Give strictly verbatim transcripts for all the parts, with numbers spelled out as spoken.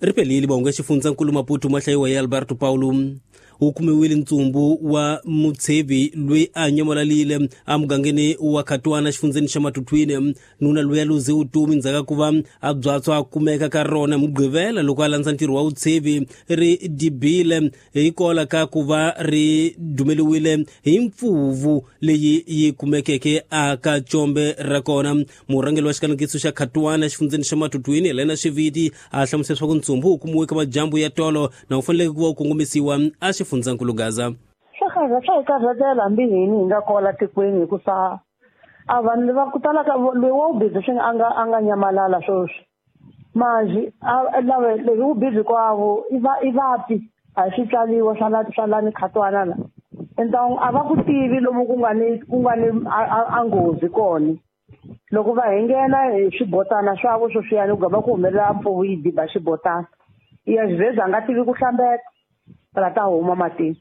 Ri pelile mahungu ya xifundzankulu Maputo ma hlayiwa hi Alberto Paulo. Wu kumiwile ntsumbu wa mutshevi loyi a nyamalalile emugangeni wa Khatwana xifundzeni xa Matutuine. Nuna loyi a luze vutomi ndzhaku ka ku va a byatswa a kumeka ka rona Mugqivela loko a landza ntirho wa vutshevi ri dibile hikola ka ku va ri dumeliwile hi mpfuvu leyi yi kumekeke aka combe ra kona. Murhangeri wa xikanekiso xa Khatwana xifundzeni xa Matutuine, Helena Xiviti, a hlamusela leswaku ntsumbu wu kumiwe ka madyambu ya tolo na wu faneleke ku va wu kongomisiwa a xifundzankulu Gaza. Swa karhata, swa hi karhatela hambi hini hi nga kwala tikweni, hikusa a vanhu va ku tala ka loyi wa wu busy swi a nga a nga nyamalala sweswi manje a lava leyi wu busy kwavo i va i vapi a hi swi tswaliwa swa la swa lani Khatwana la enta a va ku tivi lomu ku nga ni ku nga ni a nghozi kona. Loko va hi nghena hi swibotana swavo sweswiyani ku gava ku humelela mpfuvu yi diba xibotana ya xivheza a nga tivi ku hlambeta la ta huma matini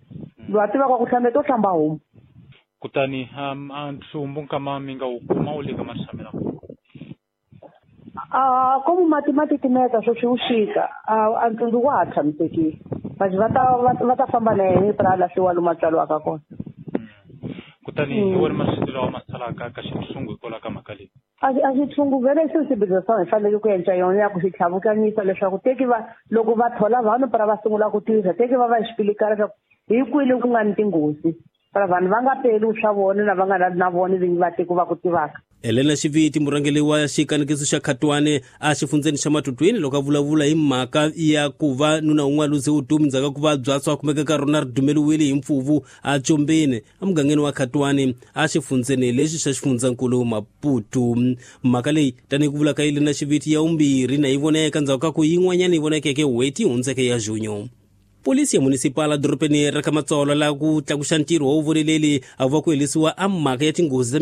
loyi a tivaka ku hlambeta u hlamba huma. Kutani um a ntsumbu nkama mi nga wu kuma wu le ka maxamela? A komu mati ma titimeta sweswi wu xika a ntsumbu wa ha tshamisekile manje va ta va ta famba na yena pra lahliwa lomu a tswariwaka kona. Kutani hi wona masiku lawa ma salaka ka xitshungu hikwalaho ka mhaka leyi? A a xitshungu vele xi xibedhlele swa hi fanele ku endla yona ya ku xi tlhavukanyisa leswaku teki va loko va thola vanhu para va sungula ku tirha teki va va xipilikana leswaku hi kwini ku nga ni tinghozi para vanhu va nga peli swa vona na va nga na vona vinyi va tiko va ku tivaka. Helena Xiviti, murhangeri wa xikanekiso xa Khatwane a xifundzeni xa Matutuine, loko a vulavula hi mhaka ya ku va nuna un'wana luze vutomi ndzhaku ka ku va byatso a kumeka ka rona ri dumeliwile hi mpfuvu a combeni emugangeni wa Khatwane a xifundzeni lexi xa xifundzankulu Maputo. Mhaka leyi tanihi ku vula ka Helena Xiviti ya vumbirhi na yi voneka ndzhaku ka ku yin'wanyana yi vonekeke n'hweti yi hundzeke ya Junyo. Polisi ya munisipala dorobeni ra ka Matsolo la ku tlakuxa ntirho wa vuvoneleli a va ku herisiwa a mhaka ya tinghozi ta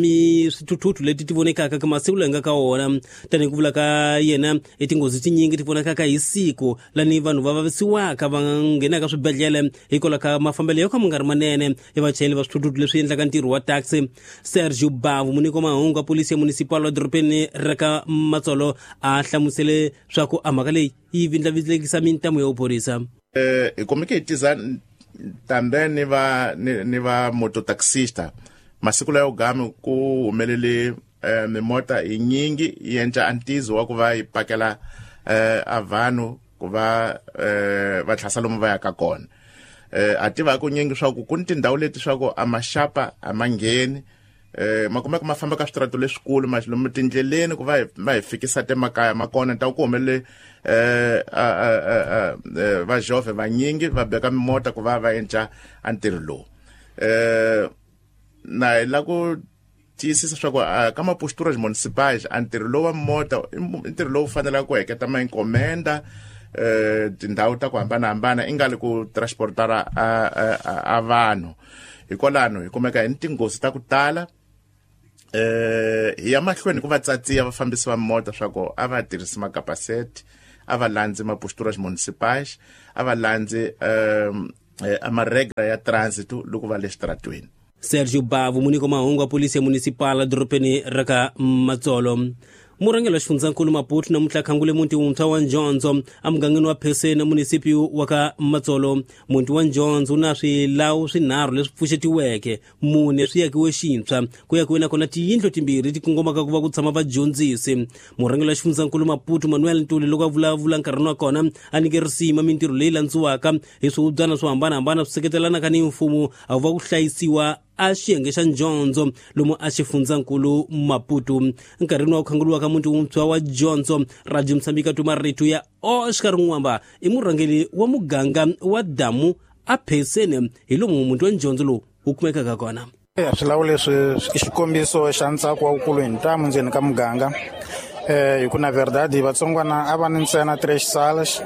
swithuthuthu leti ti vonekaka ka masiku lawa nga ka wona. Tanihi ku vula ka yena i tinghozi tinyingi ti vonakaka hi siku lani vanhu va vavisiwaka va nghenaka swibedhlele hikwalaho ka mafambelo yo ka ma nga ri manene ya vachayeri va swithuthuthu leswi endlaka ntirho wa taxi. Sergio Bavu, munyiki wa mahungu wa polisi ya munisipala wa dorobeni ra ka Matsolo, a hlamusele swa ku a mhaka leyi yi vindlavindlekisa mintamu ya vuphorisa. Eh hi kumeke hi tiza tambe ni va ni, ni va mototaxista masiku layo gami ku humelele eh, mimota hi nyingi yi endla antizo wa ku va yi pakela eh, a vanhu ku va eh, va tlhasa lomu va yaka kona. Eh, a tiva ku nyingi swa ku ku ni tindhawu leti swa ku a maxapa a ma ngheni eh ma kumeka ma famba ka switrato leswikulu ma lomu tindleleni ku va va hi fikisa temakaya ma kona ta ku humelele eh va jove vanyingi va beka mimota ku va va endla a ntirho lowu. Eh na hi la ku tiyisisa swa ku ka maposturas municipais a ntirho lowu wa mota i ntirho lowu fanelaka ku heketa ma enkomenda eh tindhawu ta ku hambanahambana i nga li ku transportara a a vanhu. Hikwalano hi kumeka hi ni tinghozi ta ku tala eh hi ya mahlweni ku va tsatsiya vafambisi va mota swa ku a va tirhisi makapaseti, a va landzi maposturas municipais, a va landzi um a maregra ya transit loko va le xitaratweni. Sergio Bavu, munyiki wa mahungu wa polisi ya munisipala dorobeni ra ka Matsolo. Murhangeri wa xifundzankulu Maputo namuntlha khangule muti wuntshwa wa Njondzo emugangeni wa Pheseni munisipiyu wa ka Matsolo. Muti wa Njondzo wu na swilawu swinharhu leswi pfuxetiweke, mune swi akiwe xintshwa, ku akiwe nakona tiyindlu timbirhi ti kongomaka ku va ku tshama vadyondzisi. Murhangeri wa xifundzankulu Maputo Manuel Ntuli loko a vulavula nkarhini wa kona a nyike risima mintirho leyi landziwaka hi swihubyana swo hambanahambana swi seketelanaka ni mfumo a va ku hlayisiwa a xiyenge xa Njondzo lomu a xifundzankulu Maputo. Nkarhini wa ku khanguriwa ka muti wuntshwa wa Njondzo, Radio Mozambique twa marito ya Oscar Nwamba i murhangeri wa muganga wa Damu a Pheseni hi lomu muti wa Njondzo lowu wu kumekaka kona. Swilawu leswi i xikombiso xa ntsako wa wukulu hi ntamu ndzeni ka muganga. Eh hi ku na verdade vatsongwana a va ni ntsena três salas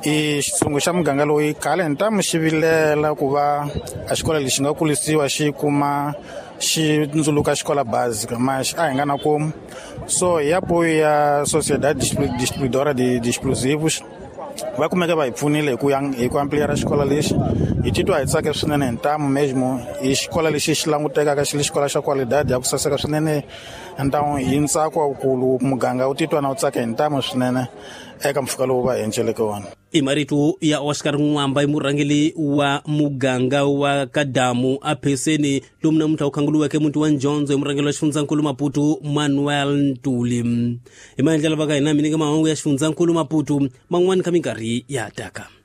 i xitshungu xa muganga loyi khale ntamu xi vilela ku va a xikolo lexi nga kulisiwa xi kuma xi ndzuluka xikola básica mas a hi nga na komu so hi apoio ya Sociedade Distribuidora de, de Explosivos va kumeka va hi pfunile hi ku hi ku ampliar xikolo lexi. Hi titwa hi tsake swinene hi ntamu mesmo hi xikolo lexi xi langutekaka xi li xikolo xa qualidade ya ku saseka swinene ntamu hi ntsako wukulu muganga wu titwa na wu tsaka hi ntamu swinene eka mpfhuka lowu va hi enceleke wona. I marito ya Oscar Nwamba, i murhangeri wa muganga wa Kadamu apheseni lomu namuntlha wu khanguluweke muti wa Njondzo hi murhangeri wa xifundzankulu Maputo Manuel Ntuli. Hi maendlelo va ka hina mi nyika mahungu ya xifundzankulu Maputo man'wani ka minkarhi ya taka.